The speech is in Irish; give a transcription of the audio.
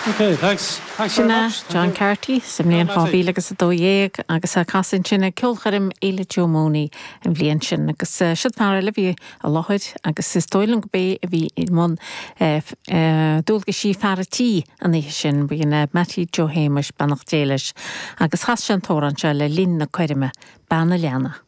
Okay, thanks. Thanks very Sin é much. John Carty sa mbliain 2012 agus é ag casadh ansin ag ceolchoirm Fhéile Joe Mooney an bhliain sin. Agus siod fear eile a bhí i láthair agus is dóigh liom go b'é a bhí i mbun dualgaisí fear a' tí an oíche sin, b'in é Mattie Joe Shéamuis, beannacht Dé leis, agus chas sé an t-amhrán seo le linn na coirme, Bean a' Leanna.